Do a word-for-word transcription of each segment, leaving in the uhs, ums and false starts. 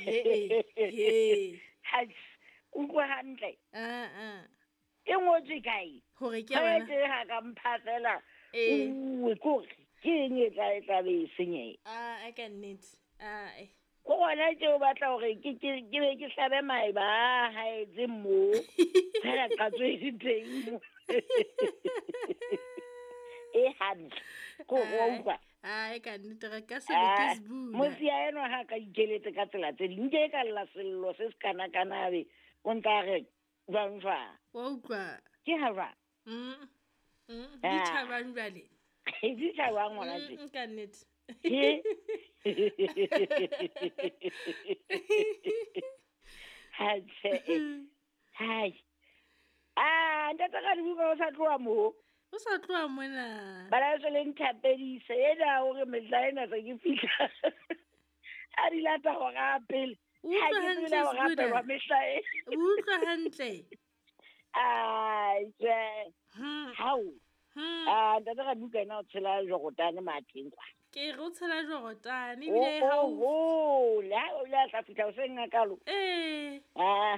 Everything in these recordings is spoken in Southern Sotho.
He he. Ha utlwa hantle. Ah ah. E ngotswe kae? Hore ke bana. Ke ha ka mpha fela. Eh. O kore ke eng e tla e tla be e senyeha. Ah, a ka nnete. Ah. Eh. Ko gona tse o batla hore ke ke ke be ke hlabe maeba a haetse mo. Fela qatso e teng mo. E hantle. Ko go utlwa. Ah, e ka nnete re ka se be ke Sbuda. Mosia enwa ha ka ikeletse ka tsela tse ding nke ka lla sello se se kana kana be o ntla re jwang jwang. Wa utlwa. Ke ha jwang? Mm. Mm. Di tjhabang jwale. Di tjhabang ngwana tje. Mm, ka nnete. Ke. Ha tse. Hai. Ah, ntate ka dibuka o sa tloha mo. O sa tloha mona. Bana se le nthapedise ena hore mehla ena se ke fihla. A di lata hore a pele. Utlwa hantle Sbuda. Mehla e. Utlwa hantle. Ai, tje. Hmm. Hao. Hmm. Ah, ntate ka dibuka ena o tshela Jordan matheng kwa. Ke re o tshela Jordan ebile ha o o la o la tla fihla o seng ngakalo. Eh. Ah.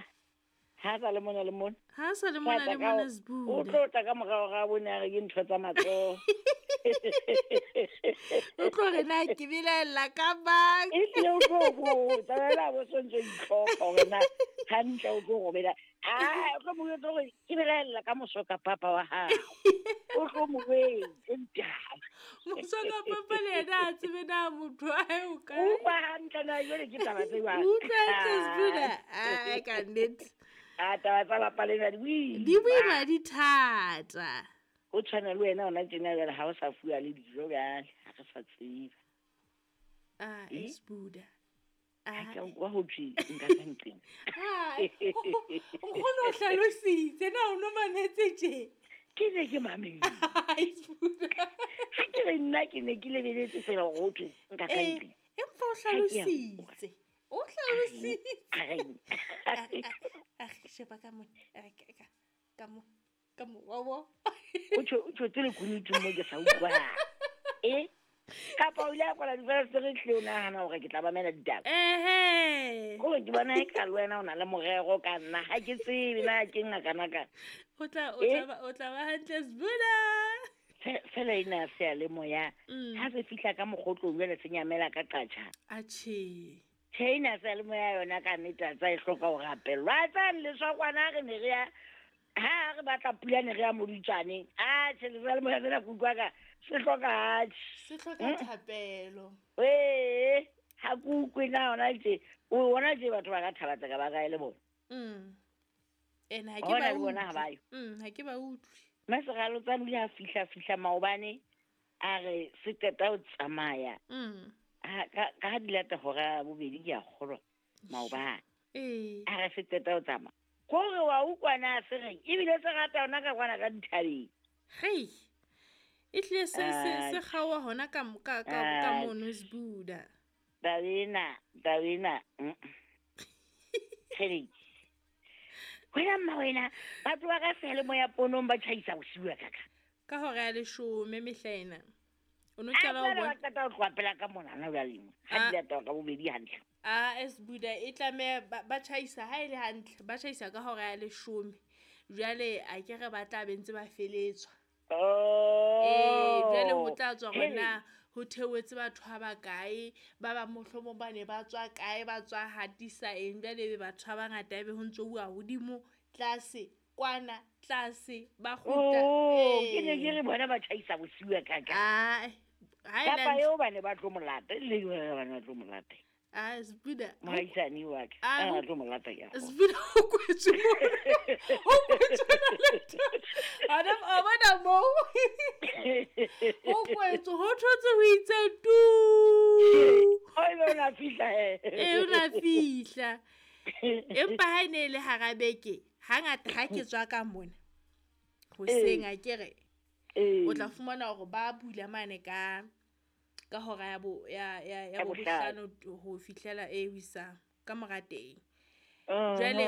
Ha sa le mona le mona. Ha sa le mona le mona Sbuda. O tlo tla ka morao ga bone a re ke ntho tsa matsoho. O tlo re na ke belaella ka bang. E tle o tlo botsa wena bo sontso itlhopha hore na hantle o tlo robela. Ah, o tlo mo jwetsa hore ke belaella ka mosoka papa wa hao. O tlo mo wetse ntaba. Mosoka papa le yena a tsebe na motho wa hae o kae. Utlwa hantle na jwale ke taba tse jwang. Utlwa hantle Sbuda. Ah, ka nnete. A taba tsa lapa lena di boima. Di boima di thata. O tshwana le wena ona tjena jwale ha o sa fuwa le dijo jwale, ha re sa tseba. Ah, Sbuda. Ah, ka utlwa ho thwe nka ka nqeng. Ah, nkgono o hlalositse na o no mametse tje. Ke ne ke mametse. Sbuda. Ha ke re nna ke ne ke lebeletse fela hore ho thwe nka ka nqeng. Empa o hlalositse. O hlalositse. A sheba ka mona, ka ka mo ka mo wa wa. O tjho o tjho tsele kunutu mo ke sa utlwa. Eh? Kapa o ile a kwala difensetere tle o nahana hore ke tla mamela ditaba. Ehe. Ko ke bona e ka le wena o na le morero ka nna ha ke tsebe na ke ngakana ka. O tla o tla ba o tla ba hantle Sbuda. Fela ena se ya le moya. Ha se fihla ka mokgotlong jwale se nyamela ka qatjha. Atjhe. Tjhe ena se le moya yona ka nnete tsa e hloka ho rapellwa. Tsa leswa kwana re ne re ya ha re batla pula ne re ya moditsane. Ah, tjhe le moya tsena kutlwa ka se hloka atjhe. Se hloka thapelo. Eh, ha kukwe na ona tje. O bona tje batho ba ka thaba tsa ka ba kae le bona. Mm. Ena ha ke ba bona ha ba yo. Mm, ha ke ba utlwe. Masegalo tsa le ha fihla fihla maobane a re se qeta ho tsamaya. Mm. Ha ka ka di lata hora bobedi ke a kgolwa maobane. Eh. A re se qeta ho tsamaya. Kore wa utlwa na se reng ebile se rata ona ka kwana ka dithabeng. Hei. E tle se se se kgaoha hona ka ka ka mono Sbuda. Taba ena, taba ena. Tshedi. Wena mma wena, batho ba ka sele moya ponong ba tjhaisa bosiu ka ka. Ka hora ya leshome mehla ena. O no qala o bona. Ba qeta ho tloha pela ka mona na jwale mo. Ha di lata ka bobedi hantle. Ah, Sbuda e tlameha ba tjhaisa ha e le hantle, ba tjhaisa ka hora ya leshome. Jwale a ke re ba tla be ntse ba feletswa. Oh. Eh, jwale ho tla tswa hore na ho theohetse batho ha ba kae, ba ba mohlomong ba ne ba tswa kae, ba tswa hatisa eng, jwale ebe batho ba bangata ebe ho ntso uwa hodimo, tlase, kwana, tlase, ba kgutla. Oh, ke ne ke re bona ba tjhaisa bosiu ka ka. Ah, ha e Kapa eo ba ne ba tlo molata, le ba ne ba tlo molata. Ah, Sbuda. Mohaisane wa ka. Ah, tlo molata ya. Sbuda o kwetswe mo. O kwetswe na le. Ana a bona mo. O kwetswe ho thotse ho itse tu. O ile na fihla he. E o na fihla. Empa ha ene le hara beke, hangata ha ke tswa ka mona. Hoseng a ke re. O tla fumana hore ba bula mane ka ka hora ya bo ya ya ya bohlano ho fihlela e wisa ka mora teng. Jwale